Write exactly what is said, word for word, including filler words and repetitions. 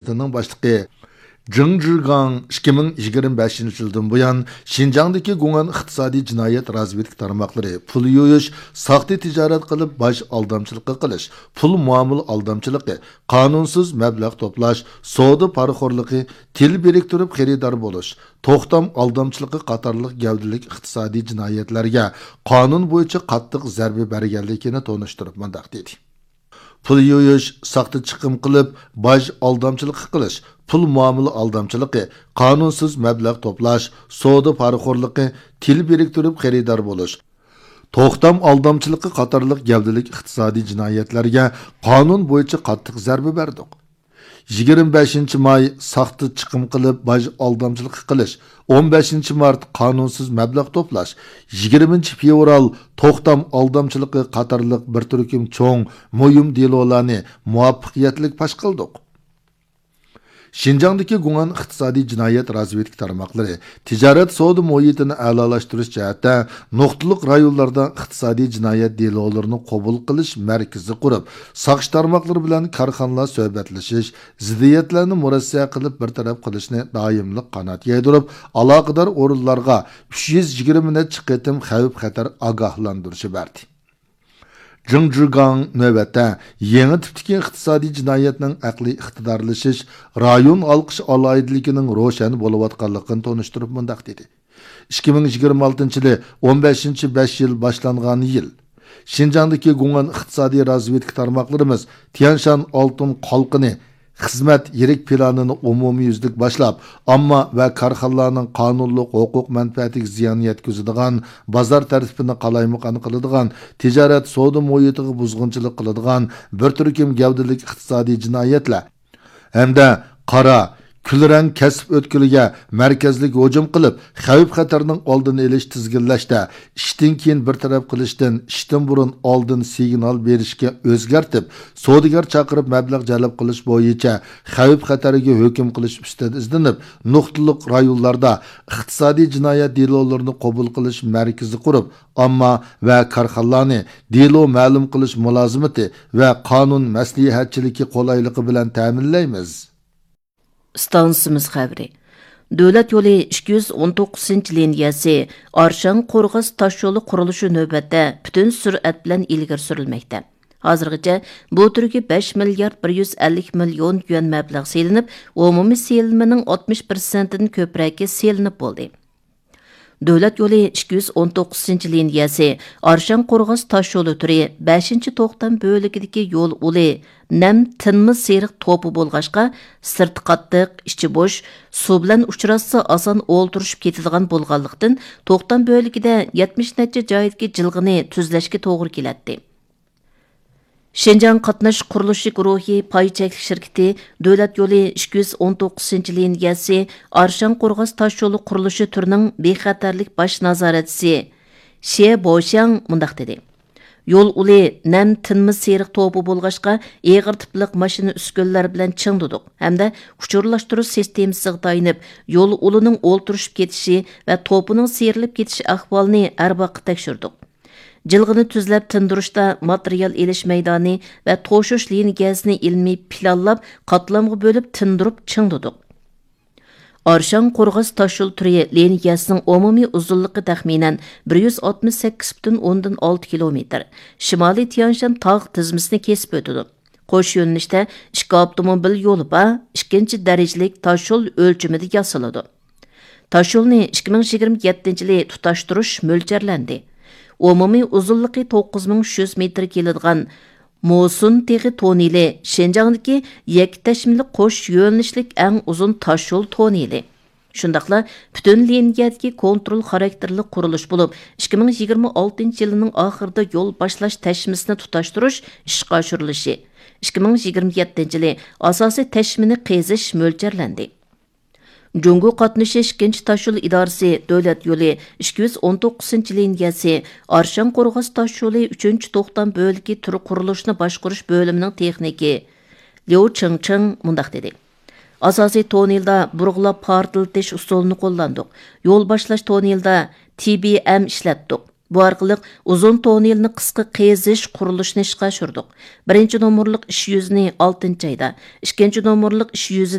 ئىدارىسىنىڭ باشلىقى جېڭ جىگاڭ ئىككى مىڭ يىگىرمە بەشىنچى يىلدىن بۇيان شىنجاڭدىكى گۇڭئەن ئىقتىسادىي جىنايەت رازۋېدكا تارماقلىرى پۇل يۇيۇش، ساختا تىجارەت قىلىپ باج ئالدامچىلىقى قىلىش، پۇل مۇئامىلە ئالدامچىلىقى، قانۇنسىز مەبلەغ توپلاش، سودا پارىخورلۇقى، تىل بىرىكتۈرۈپ خېرىدار بولۇش، توختام ئالدامچىلىقى قاتارلىق گەۋدىلىك ئىقتىسادىي جىنايەتلەرگە قانۇن بويىچە قاتتىق زەربە بەرگەنلىكىنى تونۇشتۇرۇپ مۇنداق دېدى. پۇل يۇيۇش، ساختا چىقىم قىلىپ باج ئالدامچىلىقى قىلىش، پۇل مۇئامىلە ئالدامچىلىقى، قانۇنسىز مەبلەغ توپلاش، سودا پارىخورلۇقى، تىل بىرىكتۈرۈپ خېرىدار بولۇش، توختام ئالدامچىلىقى قاتارلىق گەۋدىلىك ئىقتىسادىي جىنايەتلەرگە قانۇن بويىچە قاتتىق زەربە بەردۇق. يىگىرمە بەشىنچى ماي ساختا چىقىم قىلىپ باج ئالدامچىلىقى قىلىش، ئون بەشىنچى مارت قانۇنسىز مەبلەغ توپلاش، يىگىرمىنچى فېۋرال توختام ئالدامچىلىقى قاتارلىق بىر تۈركۈم چوڭ، مۇھىم دېلولارنى مۇۋەپپەقىيەتلىك پاش قىلدۇق. شىنجاڭدىكى گۇڭئەن ئىقتىسادىي جىنايەت رازۋېدكا تارماقلىرى تىجارەت سودا مۇھىتىنى ئەلالاشتۇرۇش جەھەتتە نۇقتىلىق رايونلاردا ئىقتىسادىي جىنايەت دېلولىرىنى قوبۇل قىلىش مەركىزى قۇرۇپ، ساقچى تارماقلىرى بىلەن كارخانىلار سۆھبەتلىشىش، زىددىيەتلەرنى مۇرەسسە قىلىپ بىر تەرەپ قىلىشنى دائىملىق قانات يايدۇرۇپ، ئالاقىدار ئورۇنلارغا ئۈچ يۈز يىگىرمە نەچچە قېتىم خەۋپ-خەتەر ئاگاھلاندۇرۇشى بەردى. جېڭ جىگاڭ نۆۋەتتە يېڭى تىپتىكى ئىقتىسادىي جىنايەتنىڭ ئەقلىي ئىقتىدارلىشىش، رايون ھالقىش ئالاھىدىلىكىنىڭ روشەن بولۇۋاتقانلىقىنى تونۇشتۇرۇپ مۇنداق دېدى: ئىككى مىڭ يىگىرمە ئالتىنچى يىلى ئون بەشىنچى بەش يىل باشلانغان يىل. شىنجاڭدىكى گۇڭئەن ئىقتىسادىي رازۋېدكا تارماقلىرىمىز تيەنشان ئالتۇن قالقىنى خىزمەت يىرىك پىلانىنى ئومۇميۈزلۈك باشلاپ، ئامما ۋە كارخانىلارنىڭ قانۇنلۇق ھوقۇق مەنپەئەتىگە زىيان يەتكۈزىدىغان، بازار تەرتىپىنى قالايمىقان قىلىدىغان، تىجارەت سودا مۇھىتىغا بۇزغۇنچىلىق قىلىدىغان بىر تۈركۈم گەۋدىلىك ئىقتىسادىي جىنايەتلەر ھەمدە قارا، كۈلرەڭ كەسىپ ئۆتكىلىگە مەركەزلىك ھۇجۇم قىلىپ، خەۋپ-خەتەرنىڭ ئالدىنى ئېلىش، تىزگىنلەشتە ئىشتىن كېيىن بىر تەرەپ قىلىشتىن ئىشتىن بۇرۇن ئالدىن سىگنال بېرىشكە ئۆزگەرتىپ، سودىگەر چاقىرىپ مەبلەغ جەلپ قىلىش بويىچە خەۋپ-خەتەرگە ھۆكۈم قىلىش ئۈستىدە ئىزدىنىپ، نۇقتىلىق رايونلاردا ئىقتىسادىي جىنايەت دېلولىرىنى قوبۇل قىلىش مەركىزى قۇرۇپ، ئامما ۋە كارخانىلارنى دېلو مەلۇم قىلىش مۇلازىمىتى ۋە قانۇن مەسلىھەتچىلىكى قولايلىقى بىلەن تەمىنلەيمىز. ئىستانسىمىز خەۋىرى. دۆلەت يولى ئىككى يۈز ئون توققۇزىنچى لىنىيەسى ئارشاڭ قورغاس تاشيولى قۇرۇلۇشى نۆۋەتتە پۈتۈن سۈرئەت بىلەن ئىلگىرى سۈرۈلمەكتە. ھازىرغىچە بۇ تۈرگە بەش مىليارد بىر يۈز ئەللىك مىليون يۈەن مەبلەغ سېلىنىپ، ئومۇمىي سېلىنمىنىڭ ئاتمىش پىرسەنتىدىن كۆپرەكى سېلىنىپ بولدى. دۆلەت يولى ئىككى يۈز ئون توققۇزىنچى لىنىيەسى ئارشاڭ قورغاس تاشيولى تۈرى بەشىنچى توختام بۆلىكىدىكى يول ئۇلى نەم تىنما سېرىق توپى بولغاچقا، سىرتى قاتتىق، ئىچى بوش، سۇ بىلەن ئۇچراشسا ئاسان ئولتۇرۇشۇپ كېتىدىغان بولغانلىقتىن، توختام بۆلىكىدە يەتمىش نەچچە جايدىكى جىلغىنى تۈزلەشكە توغرا كېلەتتى. شىنجاڭ قاتناش قۇرۇلۇشى گۇرۇھى پاي چەكلىك شىركىتى دۆلەت يولى ئىككى يۈز ئون توققۇزىنچى لىنىيەسى ئارشاڭ قورغاس تاشيولى قۇرۇلۇشى تۈرىنىڭ بىخەتەرلىك باش نازارەتچىسى شيې بوشياڭ مۇنداق دېدى: يول ئۇلى نەم تىنما سېرىق توپى بولغاچقا، ئېغىر تىپلىق ماشىنا ئۈسكۈنىلەر بىلەن چىڭدىدۇق ھەمدە ئۇچۇرلاشتۇرۇش سىستېمىسىغا تايىنىپ، يول ئۇلىنىڭ ئولتۇرۇشۇپ كېتىشى ۋە توپىنىڭ سىيرىلىپ كېتىش ئەھۋالىنى ھەر ۋاقىت تەكشۈردۇق. جىلغىنى تۈزلەپ تىندۇرۇشتا ماتېرىيال ئېلىش مەيدانى ۋە توشۇش لىنىيەسىنى ئىلمىي پىلانلاپ، قاتلامغا بۆلۈپ تىندۇرۇپ چىڭدىدۇق. ئارشاڭ قورغاس تاشيول تۈرى لىنىيەسىنىڭ ئومۇمىي ئۇزۇنلۇقى تەخمىنەن بىر يۈز ئاتمىش سەككىز پۈتۈن ئوندىن ئالتە كىلومېتىر، شىمالىي تيەنشان تاغ تىزمىسىنى كېسىپ ئۆتىدۇ. قوش يۆنىلىشتە ئىككى ئاپتوموبىل يولى بار، ئىككىنچى دەرىجىلىك تاشيول ئۆلچىمىدە ياسىلىدۇ. تاشيولنى ئىككى مىڭ يىگىرمە يەتتىنچى يىلى تۇتاشتۇرۇش مۆلچەرلەندى. ئومۇمىي ئۇزۇنلۇقى توققۇز مىڭ ئۈچ يۈز مېتىر كېلىدىغان موسۇن تېغى توننېلى شىنجاڭدىكى يەككە تەشمىلىك قوش يۆنىلىشلىك ئەڭ ئۇزۇن تاشيول توننېلى. شۇنداقلا پۈتۈن لىنىيەدىكى كونترول خاراكتېرلىك قۇرۇلۇش بولۇپ، ئىككى مىڭ يىگىرمە ئالتىنچى يىلىنىڭ ئاخىرىدا يول باشلاش تەشمىسىنى تۇتاشتۇرۇش ئىشقا ئاشۇرۇلۇشى، ئىككى مىڭ يىگىرمە يەتتىنچى يىلى ئاساسىي تەشمىنى قېزىش مۆلچەرلەندى. جۇڭگو قاتنىشى ئىككىنچى تاشيول ئىدارىسى دۆلەت يولى ئىككى يۈز ئون توققۇزىنچى لىنىيەسى ئارشاڭ قورغاس تاشيولى ئۈچىنچى توختام بۆلىكى تۈر قۇرۇلۇشىنى باشقۇرۇش بۆلۈمىنىڭ تېخنىكى ليۇ چىڭچىڭ مۇنداق دېدى: ئاساسىي توننېلدا بۇرغىلاپ پارتلىتىش ئۇسۇلىنى قوللاندۇق. يول باشلاش توننېلىدا تى بى ئەم ئىشلەتتۇق. بۇ ئارقىلىق ئۇزۇن توننېلنى قىسقا قېزىش قۇرۇلۇشىنى ئىشقا ئاشۇردۇق. بىرىنچى نومۇرلۇق ئىش يۈزىنى ئالتىنچى ئايدا، ئىككىنچى نومۇرلۇق ئىش يۈزى